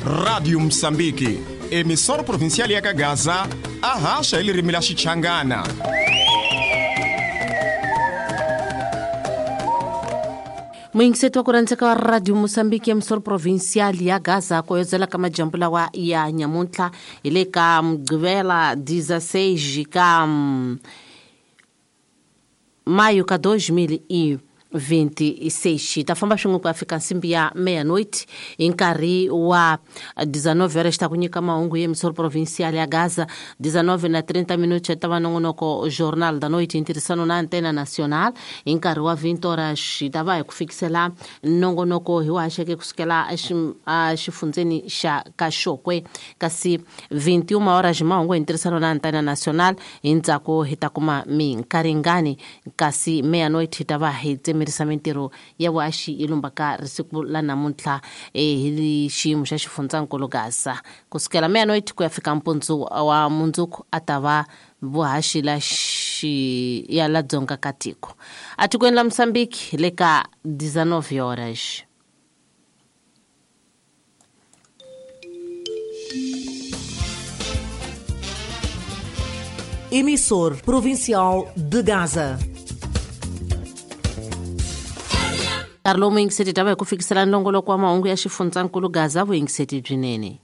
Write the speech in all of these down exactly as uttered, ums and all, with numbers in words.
Rádio Moçambique, emissora provincial ya Gaza, a haxa hi ririmi la Xichangana. Muyingiseti wa ku rhandzeka wa Radio Moçambique, emissora provincial ya Gaza, ku yodzela ka majambu lawa ya nyamuntlha hi le ka Mugqivela dezesseis ka maio ka dois mil e vinte e seis. Ta famba swin'we ku ya fika nsimbi ya meia-noite hi nkarhi wa dezenove horas ta ku nyika mahungu ya emissora provincial ya Gaza. Dezenove na trinta minutos ta va nongonoko Jornal da Noite hi ntirhisano na Antena Nacional. Hi nkarhi wa vinte horas ta va hi ku fikisela nongonoko hi wu haxeke kusukela exifundzeni xa Kaxokwe, kasi vinte e uma horas mahungu hi ntirhisano na Antena Nacional. Hi ndzhaku hi ta kuma minkaringani, kasi meia-noite hi ta va hi tsemerisa mintirho ya vuhaxi yi lumbaka risiku la namuntlha hi xiyimo xa xifundzankulu Gaza. Kusukela meia-noite ku ya fika mpundzu wa mundzuku a ta va vuhaxi la xi ya la dzonga ka tiko atikweni la Moçambique le ka dezenove horas. Emissor Provincial de Gaza. Nkarhi lowu muyingiseti ta va hi ku fikisela nongoloko wa mahungu ya xifundzankulu Gaza. Vuyingiseti byinene.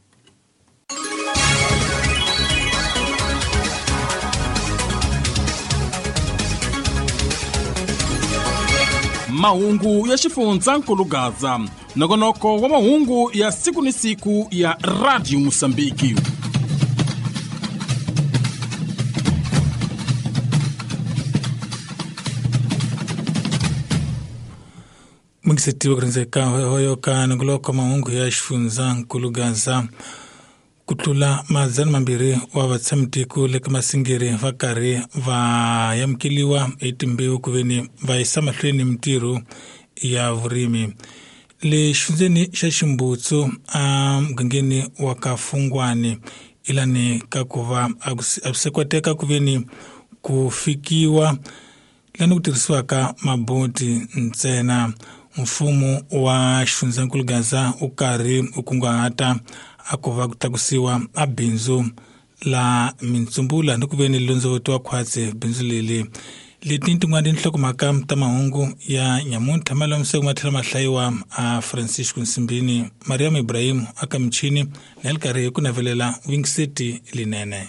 Mahungu ya xifundzankulu Gaza, nongonoko wa mahungu ya siku ni siku ya Radio Moçambique. Muyingiseti wa ku rhandzeka hoyo ka nongoloko wa mahungu ya xifundzankulu Gaza. Ku tlula madzana mambirhi wa vatshamitiko le ka Masingiri va karhi va amukeliwa hi timbewu ku veni va yisa mahlweni mintirho ya vurimi. Le xifundzeni xa Ximbutsu emugangeni wa ka Fungwani ilani ka ku va a swi koteka ku veni ku fikiwa lani ku tirhisiwaka maboti ntsena. Mfumo wa xifundzankulu Gaza wu karhi wu kunguhata a ku va ku tlakusiwa a bindzu la mintsumbula ni ku veni londzovoti wa khwatsi bindzu leli. Leti tin'wana tinhlokomhaka ta mahungu ya nyamuntlha ma lamiseke ma tlhela ma hlayiwa a Francisco Nsimbini, Mariam Ibrahim aka michini na le karhi hi ku navelela vuyingiseti linene.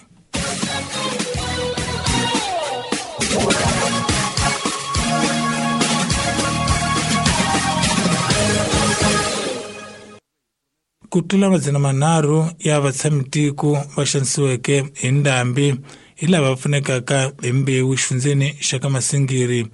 Ku tlula madzana manharhu ya vatshamitiko va xanisiweke hi ndhambi hi lava pfunekaka hi mbewu xifundzeni xa ka Masingiri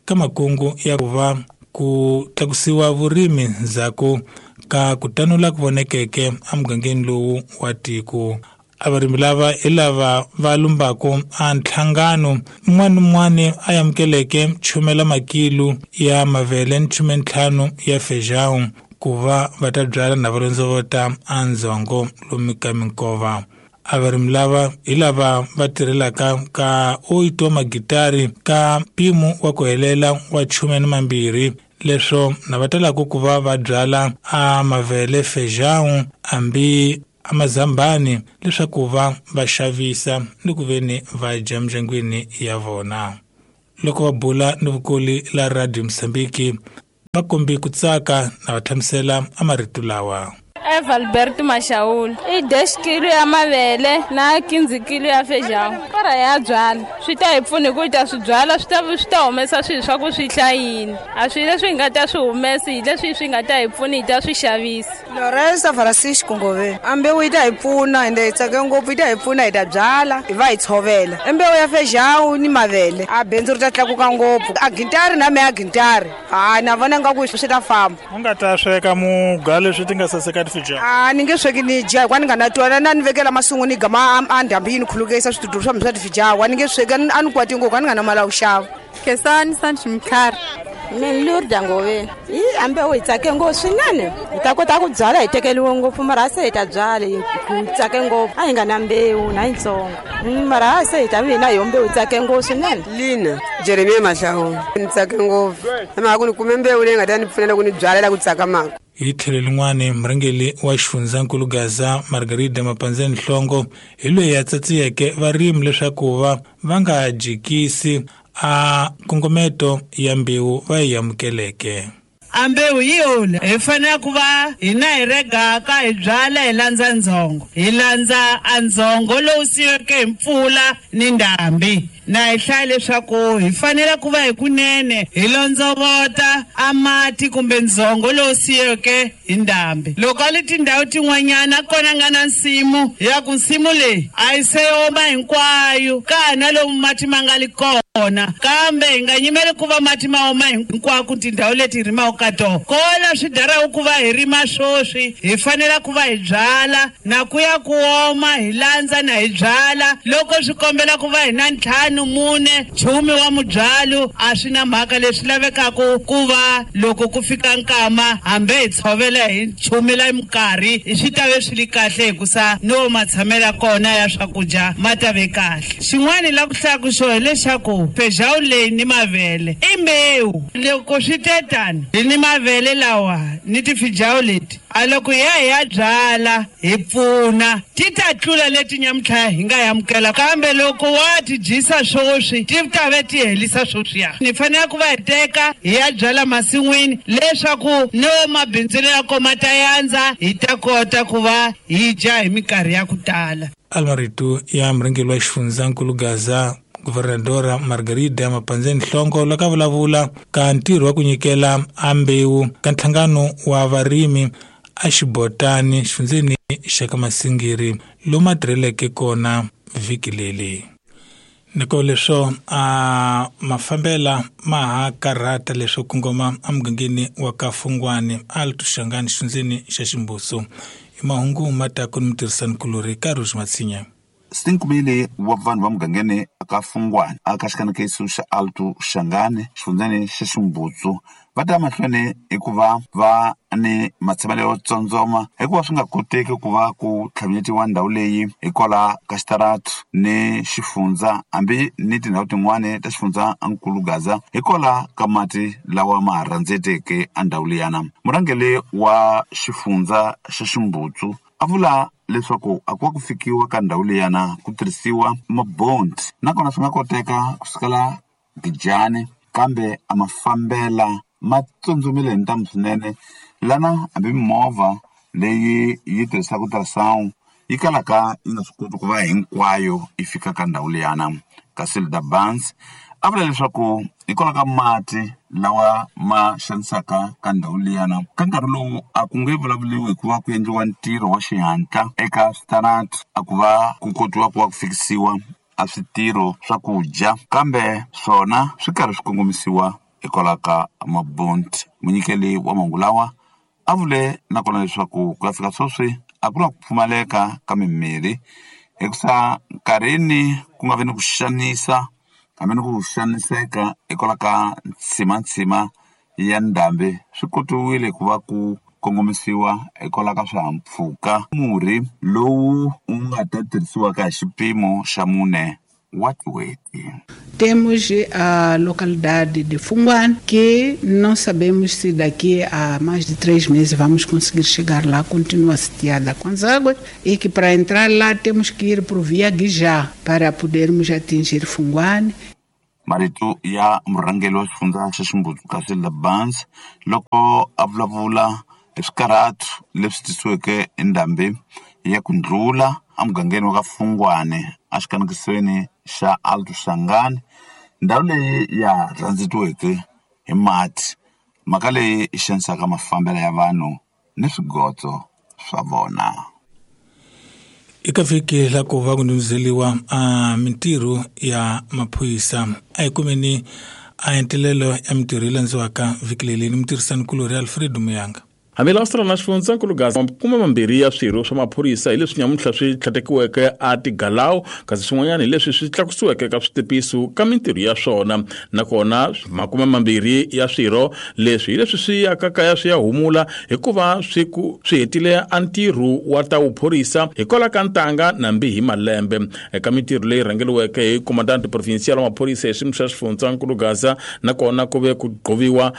ka makungu ya ku va ku tlakusiwa vurimi ndzhaku ka ku tanula ku vonekeke emugangeni lowu wa tiko. A varimi lava hi lava va lumbaku a nhlangano un'wana ni un'wana a amukeleke chumela makilu ya mavele ni khume ntlhanu ya feijão ku va va ta byala na va londzovota a ndzongo lomu ka minkova. A varimi lava hi lava va tirhelaka ka oito magitari ka mpimo wa ku helela wa khume ni mambirhi, leswo na va talaka ku va va byala a mavele, feijão hambi a mazambani leswaku va va xavisa ni ku veni va dya mindyangwini ya vona. Loko va bula ni vukoli la Radio Moçambique va kombi ku tsaka na va hlamusela a marito lawa. Eva Alberto Mashaul i dez kilo ya mavele na quinze kilo ya feijão. Para ya byala swi ta hi pfuna ku ta swi byala swi ta swi ta humesa swilo swa ku swi hlayini. A swi leswi hi nga ta swi humesi hi leswi swi nga ta hi pfuna hi ta swi xavisa. Lorenzo Francisco Ngove a mbewu yi ta hi pfuna ende hi tsake ngopfu, yi ta hi pfuna hi ta byala hi va hi tshovela. I mbewu ya feijão ni mavele a bindzu ri ta tlakuka ngopfu. A gintari na me a gintari hayi na vona nga ku swi ta famba. U nga ta sweka muga leswi ti nga saseka A ni nge sweki ni dya hikuva ni nga na twana na ni vekela masungu ni gama a ndhambi yi ni khulukisa switudulu swa mina swa tifijao. A ni nge sweki a ni kwati ngopfu a ni nga na mali ya ku xava. Khensani Sancho Mkhari. Mina Lurda Ngove. Yi ambe hi tsake ngopfu swinene. Hi ta kota ku byala hi tekeriwe ngopfu mara se hi ta byala hi tsake ngopfu. A hi nga na mbewu na yitsongo. Mara se hi ta vi na yo mbewu hi tsake ngopfu swinene. Lina Jeremia Mahlawu ni tsake ngopfu. Hi mhaka ku ni kume mbewu leyi nga ta ni pfuna loko ni byala la ku tsakamaka. Hi tlhelo lin'wani murhangeri wa xifundzankulu Gaza Margarida Mapanzeni Nhlongo hi loyi a tsatsiyeke varimi leswaku va va nga jikisi a nkongometo ya mbewu va yi amukeleke. A mbewu yi hole hi fanele ku va hina hi regaka hi byala hi landza ndzhongo hi landza a ndzhongo lowu siyiweke hi mpfula ni ndhambi na hi hlaya leswaku hi fanele ku va hi kunene hi londzovota a mati kumbe ndzhongo lowu siyiweke hi ndhambi. Loko a li tindhawu tin'wanyana kona nga na nsimu ya ku nsimu leyi a yi se oma hinkwayo ka ha na lomu mati ma nga li kona, kambe hi nga nyimeli ku va mati ma oma hinkwako tindhawu leti hi rimaka ka tona. Kona swi daraku ku va hi rima swoswi hi fanele ku va hi byala na ku ya ku oma hi landza na hi byala. Loko swi kombela ku va hi na ntlhanu mune chumi wa mubyalo a swi na mhaka leswi lavekaka ku va loko ku fika nkama hambi hi tshovela hi chumela minkarhi swi ta ve swi li kahle hikusa no matshamelo kona ya swakudya ma ta ve kahle. Xin'wana la ku hlaya xo hileswaku fejawu leyi ni mavele i mbewu. Loko swi te tani hi ni mavele lawa ni tifijawu leti a loko hi ya hi ya byala hi pfuna ti ta tlula leti nyamuntlha hi nga amukela, kambe loko wa ti dyisa swoswi ti ta ve ti helisa swoswiya. Ni fanele ku va hi teka hi ya byala masin'wini leswaku no mabindzu ya koma ta yandza hi ta kota ku va hi dya hi minkarhi ya ku tala. Almarito ya murhangeri wa xifundzankulu Gaza Governadora Margarida Mapanzeni Nhlongo loko a vulavula ka ntirho wa ku nyikela a mbewu ka nhlangano wa varimi a xibotani xifundzeni xa ka Masingiri lomu a tirheleke kona vhiki leri. Niko leswo a mafambela ma ha karhata leswo kongoma emugangeni wa ka Fungwani Alto Shangani xifundzeni xa Ximbuso. I mahungu ma ta ku ni mutirhisanikulori Karush Matsinya. Sinkumile wa vanhu va mugangeni ka Fungwani aka xikanakeso xa Alto Shangani xifundzeni xa Ximbutsu va ta mahlweni hikuva va ni matshamelo yo tsondzoma hikuva swi nga koteki ku va ku tlhavinyetiwa ndhawu leyi hikwalaho ka xitaratu ni xifundza hambi ni tindhawu tin'wani ta xifundza nkulu Gaza hikwalaho ka mati lawa ma ha rhandzeteke a ndhawu liyana. Murhangeri wa xifundza xa Ximbutsu a vula leswaku a ku va ku fikiwa ka ndhawu liyana ku tirhisiwa mabondi nakona swi nga koteka ku sukela Gijani kambe a mafambela ma tsundzumile hi ntamu swinene lana hambi mimovha leyi yi tirhisaka ultrasound yi kalaka yi nga swi koti ku va hinkwayo yi fika ka ndhawu liyana. Kasi Lda Barnes a vula leswaku hikwalaho ka mati lawa ma xanisaka ka ndhawu liyana ka nkarhi lowu a ku nge vulavuliwi hikuva ku endliwa ntirho wa xihatla eka switarati a ku va ku kotiwa ku va ku fikisiwa a switirho swa ku dya kambe swona swi karhi swi kongomisiwa hikwalaho ka mabundi. Munyikeli wa mahungu lawa a vule nakona leswaku ku ya fika sweswi a ku na ku pfumaleka ka mimirhi hikusa nkarhini ku nga vi ni ku xanisa hambi ni ku xaniseka hikwalaho ka ntsimantsima ya ndhambi swi kotiwile ku va ku kongomisiwa hikwalaho ka swihahampfhuka murhi lowu wu nga ta tirhisiwaka hi xipimo xa mune wa tin'hweti. Temos a localidade de Funguane, que não sabemos se daqui a mais de três meses vamos conseguir chegar lá, continua sitiada com as águas, e que para entrar lá temos que ir por via Guijá para podermos atingir Funguane. Marito ya murhangeri wa xifundza xa Ximbutsu Kasi Barnes loko a vulavula hi swikarhatu leswi tisiweke hi ndhambi ya ku ndlula emugangeni wa ka Fungwani exikanekisweni xa Alto Shangani ndhawu leyi ya rhandzetiweke hi mati mhaka leyi yi xanisaka mafambelo ya vanhu ni swigotso swa vona. Eka vhiki la ku va ku ndhundhuzeliwa a mintirho ya maphorisa a hi kumeni a entelelo ya mintirho yi landziwaka vhiki leri ni mutirhisanikulori Alfredo Muyanga. Hambi lawa na xifundzankulu Gaza makume mambirhi ya swirho swa maphorisa hi leswi nyamuntlha swi tlhatekiweke a tigalawu kasi swin'wanyana hi leswi swi tlakusiweke ka switepiso ka mintirho ya swona nakona makume mambirhi ya swirho leswi hi leswi swi yaka kaya swi ya humula hikuva swi ku swi hetile a ntirho wa ta vuphorisa hikwalaho ka ntanga nambi hi malembe eka mintirho leyi rhangeriweke hi komandante provincial wa maphorisa hi xiyimo xa xifundzankulu Gaza nakona ku ve ku gqoviwa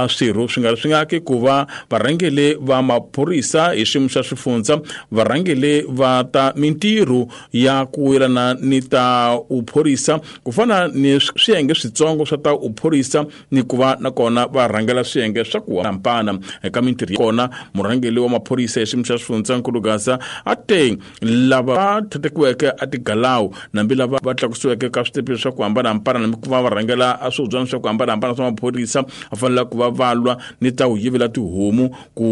swirho swi nga ri swi nga ki ku va varhangeri Varhangeli va maphorisa hi xiyimo xa swifundza, varhangeli va ta mintirho ya ku yelana ni ta uphorisa ku fana ni swiyenge switsongo swa ta uphorisa ni ku va nakona va rhangela swiyenge swa ku hambana eka mintirho kona. Murhangeli wa maphorisa hi xiyimo xa swifundzankulu Gaza a te lava va thatekiweke a tigalawu nambi lava va tlakusiweke ka switepe swa ku hambanahambana nambi ku va va rhangela a swihubyana swa ku hambanahambana swa maphorisa va fanele ku va va lwa ni ta u yivela tihomu ku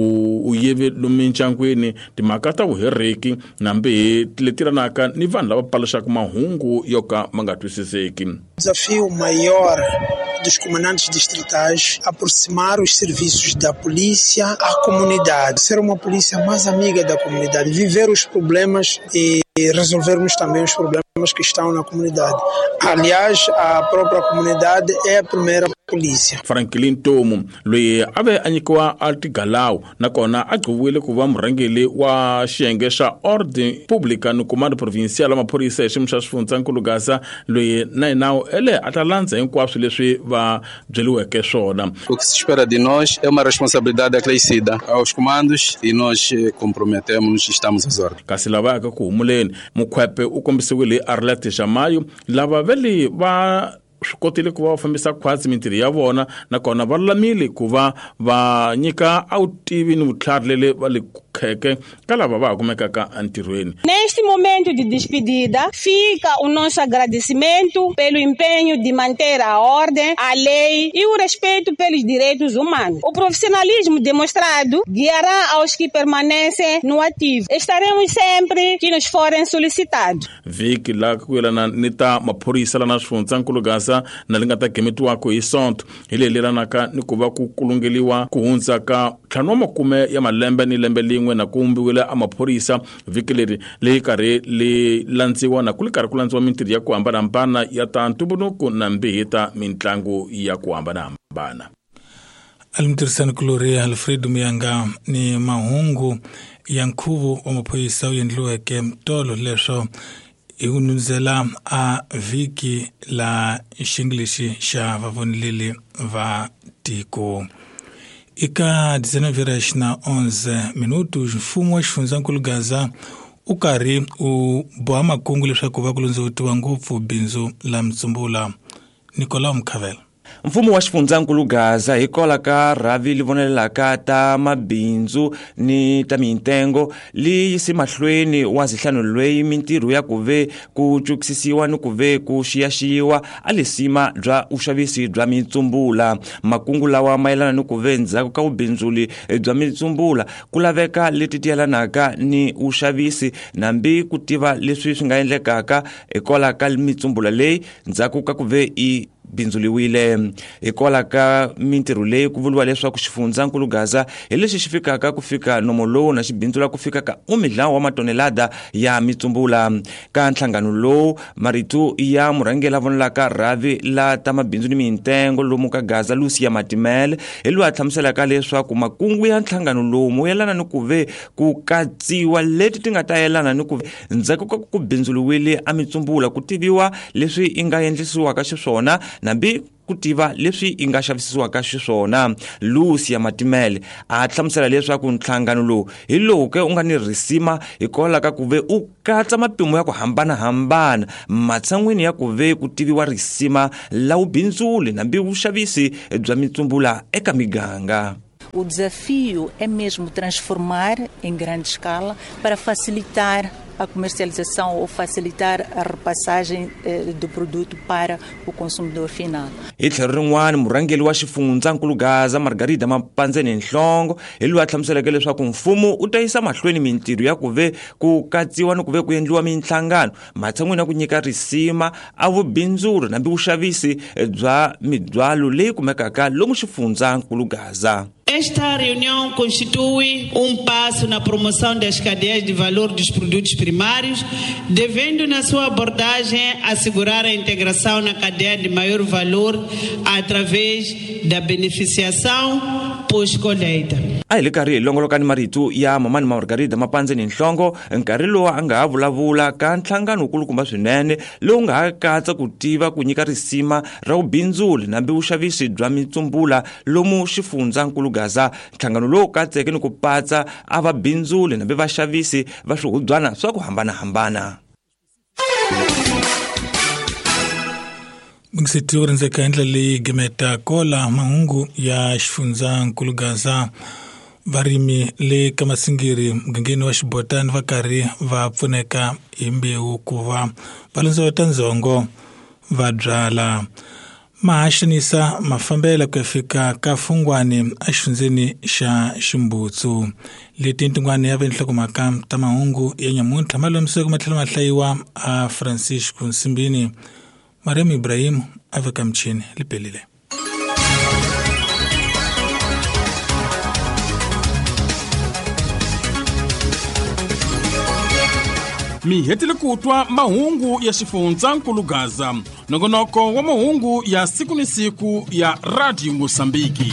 u yive lomu mindyangwini timhaka ta vuhereki nambi leti ranaka ni vanhu lava paluxaka mahungu yo ka ma nga twisiseki. Desafio maior dos comandantes distritais aproximar os serviços da polícia à comunidade, ser uma polícia mais amiga da comunidade, viver os problemas e resolvermos também os problemas que estão na comunidade. Aliás, a própria comunidade é a primeira polícia. Franklin Tomu loyi a ve a nyikiwa a tigalawu nakona a gcoviwile ku va murhangeri wa xiyenge xa Ordem Pública ni Comando Provincial wa maphorisa hi xiyimo xa swifundzankulu Gaza loyi na yena ele a ta landza hinkwaswo leswi va byeriweke swona. O que se espera de nós é uma responsabilidade acrescida aos comandos e nós comprometemos-nos e estamos às ordens. Kasi lava yaka ku humuleni Mukhwepe u kombisiwile hi Arlette Jamayo lava vele va swi kotile ku va va fambisa khwatsi mintirho ya vona nakona va lulamile ku va va nyika a vutivi ni vutlhari lele va le kheke ka lava va ha kumekaka entirhweni. Neste momento de despedida, fica o nosso agradecimento pelo empenho de manter a ordem, a lei e o respeito pelos direitos humanos. O profissionalismo demonstrado guiará aos que permanecem no ativo. Estaremos sempre que nos forem solicitados. Vhiki la ku yelana ni ta maphorisa lana swifundzankulu Gaza na li nga ta gemetiwaka hi Sonto hi leyi lelanaka ni ku va ku kulungeliwa ku hundza ka ntlhanu wa makume ya malembe ni lembe lin'we na ku vumbiwile a maphorisa. Vhiki leri leyi karhi li landziwa na ku li karhi ku landziwa mintirho ya ku hambanahambana ya ta ntumbuluko na mbihi ta mitlangu ya ku hambanahambana. Alimtirhisani kulori Alfredo Muyanga ni mahungu ya nkhuvo wa maphorisa wu endliweke tolo leswo hi ku nundzela a vhiki la xingilixi xa vavoneleli va tiko. Eka dezenove horas na onze minutos, mfumo wa xifundzankulu Gaza u karhi u boha makungu leswaku va ku lundzutiwa ngopfu bindzu la Mtsumbula. Nicolau Mkhavela. Mfumo wa xifundzankulu Gaza hikwalaho ka rhavi li vonelelaka ta mabindzu ni ta mintengo li yise mahlweni wa zihlanu lweyi mintirho ya ku ve ku cukisisiwa ni ku ve ku xiyaxiyiwa a lisima bya vuxavisi bya mitsumbula. Makungu lawa mayelana ni ku ve ndzhaku ka vubindzuli bya mitsumbula ku laveka leti ti yelanaka ni vuxavisi nambi ku tiva leswi swi nga endlekaka hikwalaho ka mitsumbula leyi ndzhaku ka ku ve i bindzuliwile. Hikwalaho ka mintirho leyi ku vuriwa leswaku xifundzankulu Gaza hi lexi xi fikaka ku fika nomo lowu na xi bindzula ku fika ka umidlawo wa matonelada ya mitsumbula. Ka nhlangano lowu marito ya murhangeri vonelaka rhavi la ta mabindzu ni mintengo lomu ka Gaza Lucia Matimele hi loyi a hlamuselaka leswaku makungu ya nhlangano lowu mo yelana ni ku ve ku katsiwa leti ti nga ta yelana ni ku ndzhaku ka ku bindzuliwile a mitsumbula ku tiviwa leswi i nga endlisiwaka xiswona nambi ku tiva leswi i nga xavisiwaka xiswona. Lucia Matimele a hlamusela leswaku nhlangano lowu hi lowu ke u nga ni risima hikwalaho ka ku ve u katsa mapimo ya ku hambanahambana matshan'wini ya ku ve ku tiviwa risima la vubindzuli nambi vuxavisi bya mitsumbula eka miganga. O desafio é mesmo transformar em grande escala para facilitar a comercialização ou facilitar a repassagem eh, do produto para o consumidor final. Hi tlhelo rin'wana murhangeri wa xifundzankulu Gaza Margarida Mapandzeni Nhlongo hi loyi a hlamuseleke leswaku mfumo u ta yisa mahlweni mintirho ya ku ve ku katsiwa ni ku ve ku endliwa minhlangano matshan'wini ya ku nyika risima a vubindzuri nambi vuxavisi bya mibyalo leyi kumekaka lomu xifundzankulu Gaza. Esta reunião constitui um passo na promoção das cadeias de valor dos produtos primários, devendo na sua abordagem assegurar a integração na cadeia de maior valor através da beneficiação pós-colheita. A hi le karhi hi longoloka ni marito ya mamani Margarida Mapandzeni Nhlongo nkarhi lowu a nga ha vulavula ka nhlangano wukulukumba swinene lowu nga ha katsa ku tiva ku nyika risima ra vubindzuli nambi vuxavisi bya mitsumbula lomu xifundzankulu Gaza nhlangano lowu katseke ni ku patsa a va bindzuli nambe vaxavisi va swihubyana swa ku hambanahambana. Mixiti u rindzeka hi ndlela leyi gimeta kola mahungu ya xifundzankulu Gaza. Varimi le ka Masingiri mugangeni wa Xibotani va karhi va pfuneka hi mbewu ku va va londzovota ndzhongo va byala. Mahaxanisa mafambela ku ya fika ka Fungwani exifundzeni xa Ximbutsu. Leti tin'wana ya vinhlokomhaka ta mahungu ya nyamuntlha ma lomisiwe ma tlhela ma hlayiwa a Francisco Nsimbini. Mariam Ibrahim a veka michini lipelile. Mi hetile ku twa mahungu ya xifundzankulu Gaza, nongonoko wa mahungu ya siku ni siku ya Radio Mosambiki.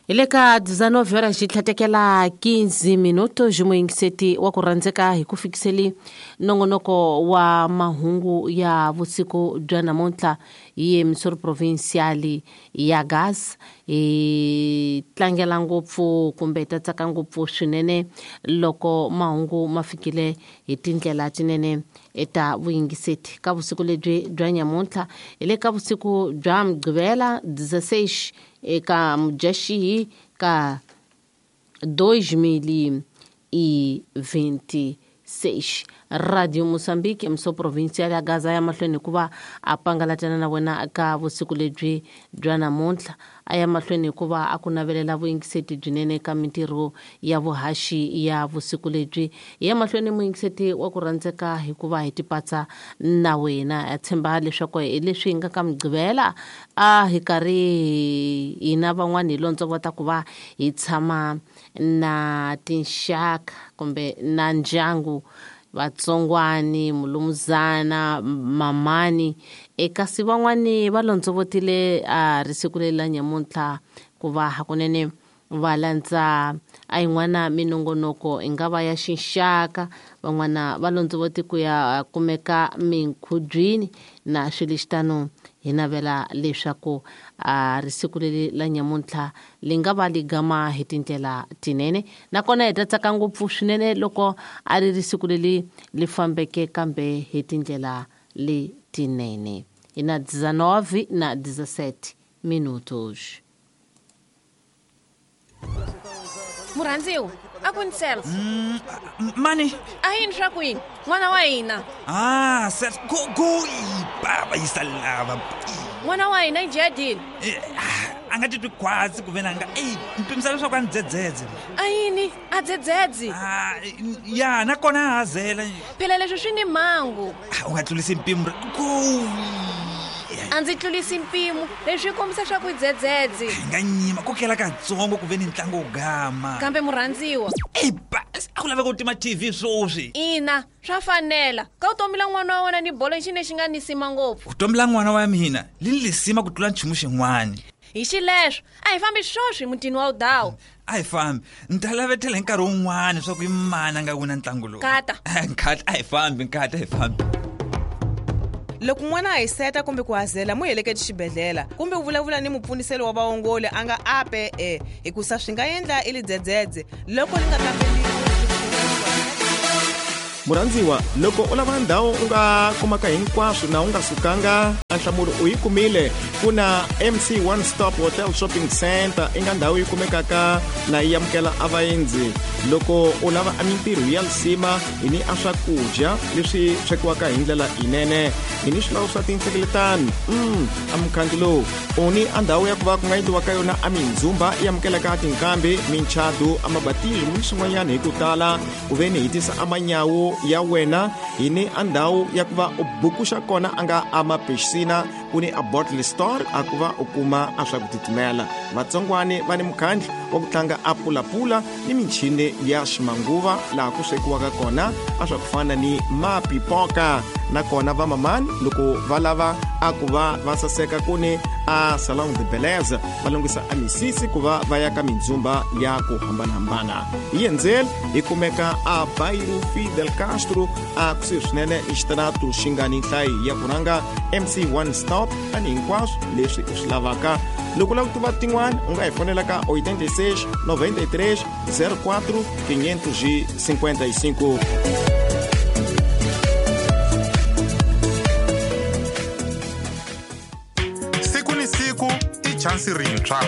Hi le ka dezenove horas xi tlhatekela quinze minutos muyingiseti wa ku rhandzeka hi ku fikiseli nongonoko wa mahungu ya vusiku bya namuntlha hi emisoro provincial ya Gaza. Hi tlangela ngopfu kumbe hi ta tsaka ngopfu swinene loko mahungu ma fikile hi tindlela tinene eta vuyingiseti ka vusiku lebyi bya nyamuntlha. Hi le ka vusiku bya Mugqivela dezesseis eka Mudyaxihi ka dois mil e vinte e seis. Radio Mozambique emso provincial ya Gaza ya mahlweni hikuva a pangalatana na wena ka vusiku lebyi bya namuntlha. A ya mahlweni hikuva a ku navelela vuyingiseti byinene ka mintirho ya vuhaxi ya vusiku lebyi. Ya mahlweni muyingiseti wa ku rhandzeka hikuva hi tipatsa na wena. Ya tshemba leswaku hi leswi hi nga ka Mugqivela a hi karhi hina van'wani hi londzovota ku va hi tshama na tinxaka kumbe na ndyangu, vatsongwani, mulumuzana, mamani. Kasi van'wani va londzovotile a risiku leri la nyamuntlha ku va hakunene va landza a yin'wana minongonoko i nga va ya xinxaka. Van'wana va londzovoti ku ya kumeka minkhubyini na swilo xitano. Hi navela leswaku a risiku leri la nyamuntlha li nga va li gama hi tindlela tinene, nakona hi ta tsaka ngopfu swinene loko a ri risiku leri li fambeke kambe hi tindlela letinene. Hi na dezenove na dezessete minutos. Murhandziwa, a ku ni self. Mm, mani? A yini swa ku yini? N'wana wa hina. Ah, self go go baba yisalava. N'wana wa hina i jadile. A nga titwi khwatsi ku ve na nga ey mpimisa leswaku a ni dzedzedze. A yini? A dzedzedze? Ah, ya nakona a hazela. Phela leswi swi ni mhangu. U nga tlulisi mpimo go. A ndzi tlulisi mpimo leswi kombisa swa ku dzedzedze. Nga nyima ku kela katsongo ku ve ni ntlangu wo gama. Kambe murhandziwa. Ey ba a ku laveka ku tima T V swoswi. Ina, swa fanela. Ka vutomi la n'wana wa wena ni bolo xi xi nga ni sima ngopfu. Vutomi la n'wana wa mina li ni lisima ku tlula nchumu xin'wana. Hi xileswo a hi fambi swoswi mutini wa udawu. A hi fambi ni ta lavetela hi nkarhi wun'wana swa ku i mani a nga wina ntlangu lowu. Kata nkata a hi fambi nkata a hi fambi. Loko n'wana a hiseta kumbe ku hazela mu heleketi xibedhlele kumbe u vulavula ni mupfuniselo wa vaongoli a nga ape e hikusa swi nga endla i lidzedzedze loko li nga kambeliwi. Murhandziwa, loko u lava ndhawu u nga kumaka hinkwaswo na u nga sukanga, nhlamulo u yi kumile. Ku na M C One Stop Hotel Shopping Center i nga ndhawu yi kumekaka na yi amukela a vaendzi. Loko u lava a mintirho ya lisima hi ni a swakudya leswi swekiwaka hi ndlela yinene, hi ni swilawu swa tinhlengeletano mm, a mukhangi lowu u ni a ndhawu ya ku va ku nga endliwa ka yona a mindzumba yi amukelaka tinkambi, minchadu, a mabatismo ni swin'wanyana hi ku tala. Ku ve ni hi tisa a manyawu ya wena hi ni a ndhawu ya ku va u bukuxa kona a nga a mapixina. Ku ni a bottle store a ku va u kuma a swa ku titimela. Vatsongwani va ni mukhandlu wa ku tlanga a pulapula ni michini ya ximanguva laha ku swekiwaka kona a swa ku fana ni mapipoka. Nakona va mamani loko va lava a ku va va saseka ku ni a salon de beleza va lunghisa a misisi ku va va ya ka mindzumba ya ku hambanahambana. Hi endzeli hi kumeka a Bairro Fidel Castro a kusuhi swinene ni xitarato xi nga ni nhlayo ya ku rhanga M C One Stop ani hinkwaswo leswi u swi lavaka. Loko u lava ku tiva tin'wana u nga hi fonela ka oitenta e seis, noventa e três, zero quatro, quinhentos e cinquenta e cinco. Siku ni siku i chansi rintshwa.